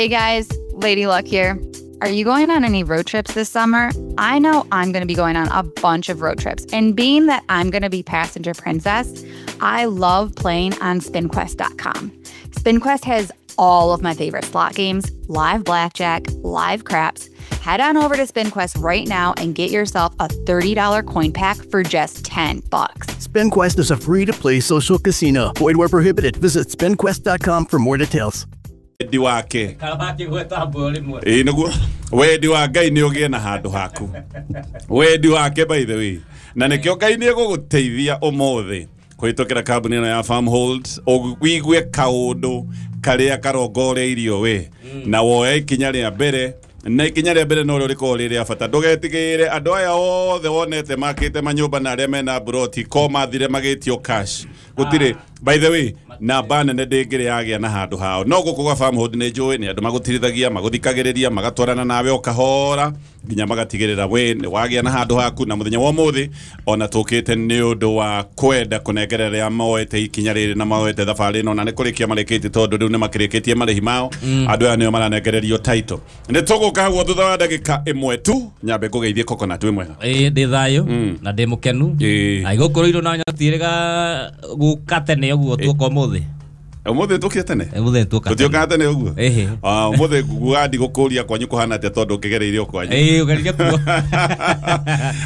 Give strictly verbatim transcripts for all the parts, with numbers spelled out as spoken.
Hey guys, Lady Luck here. Are you going on any road trips this summer? I know I'm gonna be going on a bunch of road trips, and being that I'm gonna be passenger princess, I love playing on spin quest dot com. SpinQuest has all of my favorite slot games, live blackjack, live craps. Head on over to SpinQuest right now and get yourself a thirty dollar coin pack for just ten bucks. SpinQuest is a free-to-play social casino. Void where prohibited. Visit spin quest dot com for more details. Wendi wake. Ĩĩ nĩguo. Wendi wa Ngai nĩ ũgĩe na handũ haku. Wendi wake, by the way. Na nĩkĩo Ngai nĩ egũgũteithia ũmũthĩ kũhĩtũkĩra kambuni ĩno ya Farmhold, ũigue kaũndũ karĩa karongoreirio we na woe ikinya rĩa mbere, na ikinya rĩa mbere no rĩo rĩkoragwo rĩ rĩa bata. Ndũgetigĩre andũ aya othe wonete makĩte manyũmba na arĩa mena mburoti ko mathire magĩtio cash. Gũtirĩ, by the way, namba nene ndĩngĩrĩ yagĩa na handũ hao. No gũkũ gwa Farmhold nĩ njũĩ nĩ andũ magũtirithagia, magũthikagĩrĩria, magatwarana nawe o kahora nginya magatigĩrĩra we nĩ wagĩa na handũ haku. Na mũthenya wa ũmũthĩ ona tũkĩte nĩ ũndũ wa kwenda kũnengerera arĩa moete ikinya rĩrĩ na moete thabarĩ ĩno, na nĩ kũrĩkia marĩkĩtie tondũ rĩu nĩ makĩrĩkĩtie marĩhi mao. Andũ aya nĩo maranengererio title. Nĩ tũgũka hau thutha wa ndagĩka ĩmwe tu. Nyambe ngũgeithie Coconut, wĩ mwega? Ĩĩ, ndĩ thayũ na ndĩ mũkenu. Na gũkũ Rũirũ na nyotirĩga gũka tene ũguo tuoka ũmũthĩ. Ũmũthĩ tũkire tene? Ũmũthĩ tuoka tene. Tũtiokaga tene ũguo? Ĩhĩ. Ah, ũmũthĩ nguga ndigũkũria kwanyu kũhana atĩa tondũ ngĩgereirie o kwanyu. Ĩĩ, ũgereirie kuo.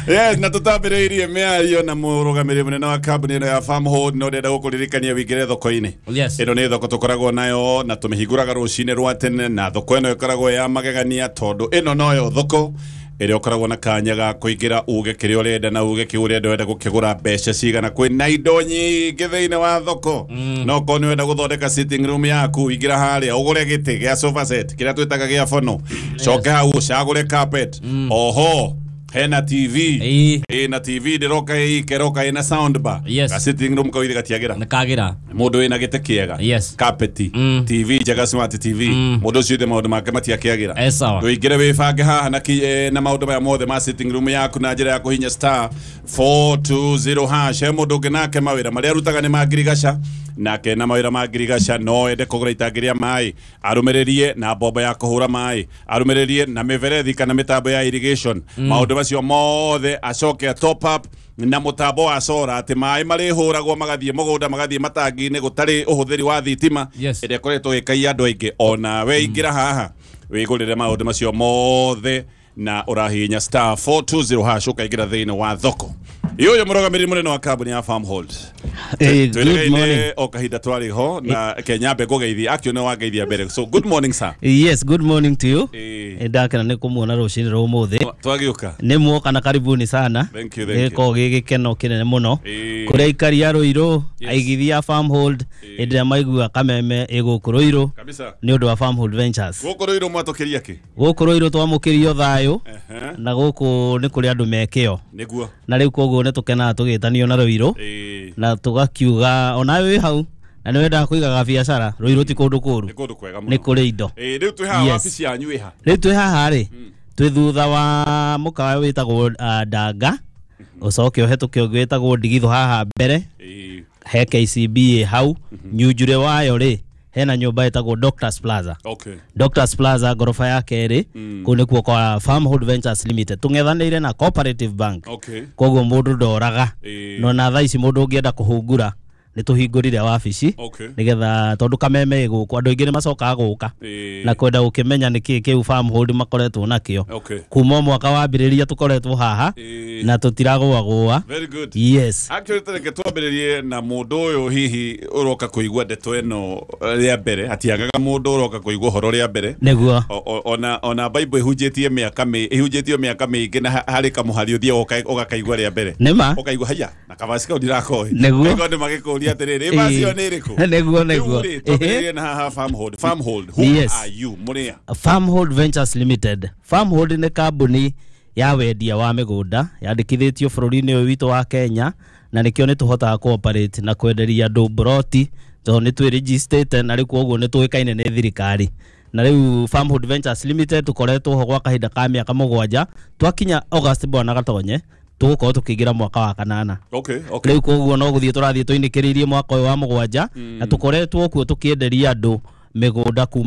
Yes, na tũtambĩrĩirie mĩario na mũrũgamĩrĩri mũnene wa kambuni ĩno ya Farmhold, no ndĩrenda gũkũririkania wĩingĩre thoko-inĩ. Yes. Ĩno nĩ thoko tũkoragwo nayo na tũmĩhingũraga rũcinĩ rwa tene, na thoko ĩno ĩkoragwo ya magegania tondũ ĩno noyo thoko ĩrĩa ũkoragwo na kanya ga kũingĩra uge kĩrĩa ũrenda na uge kĩu ũrenda ũrenda gũkĩgũra mbeca cigana. Kwĩna indo nyingĩ thĩinĩ wa thoko. No korwo nĩ ũrenda gũthondeka sitting room yaku, ingĩra harĩa ũgũre gĩtĩ gĩa sofa set kĩrĩa twĩtaga gĩa bono, coke hau ũcagũre carpet. Oho hena T V. Ĩĩ. Ĩna T V ndĩroka ĩ ikeroka ĩna sound bar. Yes. Ga sitting room kau ithe gatiagĩra. Nĩ kagĩra. Mũndũ wĩna gĩtĩ kĩega. Yes. Carpet. Mm. T V njega, smart T V. Mm. Mũndũ ũcio ithe maũndũ make matiakĩagĩra. Eh, sawa. Ndũingĩre wĩbange haha na ki, eh, na maũndũ maya mothe ma sitting room yaku na njĩra ya kũhinya star four two zero hash. He mũndũ ũngĩ nake mawĩra marĩa arutaga nĩ ma ngirigaca, nake na mawĩra ma ngirigaca no ende kũgũra itangi rĩa maĩ, arũmĩrĩrie na mbombo ya kũhũra maĩ, arũmĩrĩrie na mĩberethi kana mĩtambo ya irrigation. Maũndũ macio mothe acoke a top up na mũtambo wa solar atĩ maĩ marĩhũragwo magathiĩ mũgũnda, magathiĩ matangi-inĩ gũtarĩ ũhũthĩri wa thitima. Yes. Ĩrĩa ĩkoretwo ĩgĩkaia andũ aingĩ. Ona we ingĩra haha wĩgũrĩre maũndũ macio mothe na ũrahihinya star four two zero hash ũkaingĩra thĩinĩ wa thoko. Ũyũ mũrũgamĩrĩri mũnene wa kambuni ya Farmhold. Hey, good Twĩrĩgaine morning. o kahinda twarĩ ho na Kenya mbe ngũgeithie, actually nĩ wangeithia mbere. So good morning sir. Yes, good morning to you. Ĩĩ. Nĩ ndakena nĩ kũmuona rũcinĩ rwa ũmũthĩ. Twagĩũka. Nĩ muoka na karibuni sana. Thank you, thank you. Gĩkoragwo gĩ gĩkeno kĩnene mũno. Ĩĩ. Kũrĩa aikari a Rũirũ, Yes. aigithia a Farmhold, Ĩĩ. hĩndĩ ĩrĩa maigua kameme ĩ gũkũ Rũirũ. Kabisa. Nĩ ũndũ wa Farmhold Ventures. Gũkũ Rũirũ mwatũkĩria kĩ? Gũkũ Rũirũ twamũkĩrio thayũ. Ehe. Na gũkũ nĩ kũrĩ andũ me kĩo. Nĩguo. Na rĩu koguo nĩ tũkenaga tũgĩtanio na Rũirũ. Ĩĩ. Na tũgakiuga onawe wĩ hau na nĩ wendaga kũigaga biacara, Rũirũ ti kũndũ kũũru. Nĩ kũndũ kwega mũno. Nĩ kũrĩ indo. Ĩĩ, rĩu twĩ haha Yes. wabici yanyu ĩ ha? Rĩu twĩ haha rĩ, twĩ thutha wa mũkawa wĩtagwo, ah, Ndanga, ũcoke ũhetũke ũngĩ wĩtagwo Ndigithũ haha mbere. Ĩĩ. He K C B ĩ hau. Nyunjure wayo rĩ, hena nyũmba ĩtagwo Doctors Plaza. Okay. Doctors Plaza ngoroba ya kerĩ, Mm. kũu nĩkuo kwa Farmhold Ventures Limited. Tũng'ethanĩire na Cooperative Bank. Okay. Koguo mũndũ ndoraga. Ĩĩ. No na thaa ici mũndũ ũngĩenda kũhungura, nĩ tũhingũrire wabici. Okay. Nĩgetha tondũ kameme ĩ gũkũ, andũ aingĩ nĩ macokaga gũka. Ĩĩ. Na kwenda gũkĩmenya nĩkĩ kĩu Farmhold makoretwo nakĩo. Okay. Kuma mwaka wambĩrĩria tũkoretwo haha, Ĩĩ. na tũtiragũagũa. Very good. Yes. Actually, tareke twambĩrĩrie na mũndũ ũyũ hihi ũroka kũigua ndeto ĩno rĩa mbere, hatiagaga mũndũ ũroka kũigua ũhoro rĩa mbere. Nĩguo. O, o, ona, ona Bible ĩhunjĩtie mĩaka mĩ-, ĩhunjĩtio mĩaka mĩingĩ na ha-, harĩ kamũhari ũthiaga ũka-, ũgakaigua rĩa mbere. Nĩma. Ũkaigua haya, na kabasi kau ndirakoĩ. Nĩguo. Ũkaigua andũ magĩkũria atĩrĩrĩ, ĩ basi ĩyo nĩ ĩrĩkũ? Nĩguo, nĩguo. Rĩu rĩ, twambĩrĩrie na haha Farmhold. Farmhold, who Yes. are you? Mũrĩa? Farmhold Ventures Limited. Farmhold nĩ kambuni ya wendia wa mĩgũnda yandĩkithĩtio bũrũri-inĩ ũyũ witũ wa Kenya, na nĩkĩo nĩ tũhotaga cooperate na kwenderia andũ mburoti tondũ nĩ twĩrĩgistĩte na rĩu koguo nĩ tũĩkaine nĩ thirikari. Na rĩu Farmhold Ventures Limited tũkoretwo ho gwa kahinda ka mĩaka mũgwanja, twakinya August bwana Gatonye tũgũkorwo tũkĩingĩra mwaka wa kanana. Okay, okay. Rĩu koguo no gũthiĩ tũrathiĩ tũinĩkĩrĩirie mwaka ũyũ wa mũgwanja, Mm. na tũkoretwo kuo tũkĩenderia andũ mĩgũnda kuma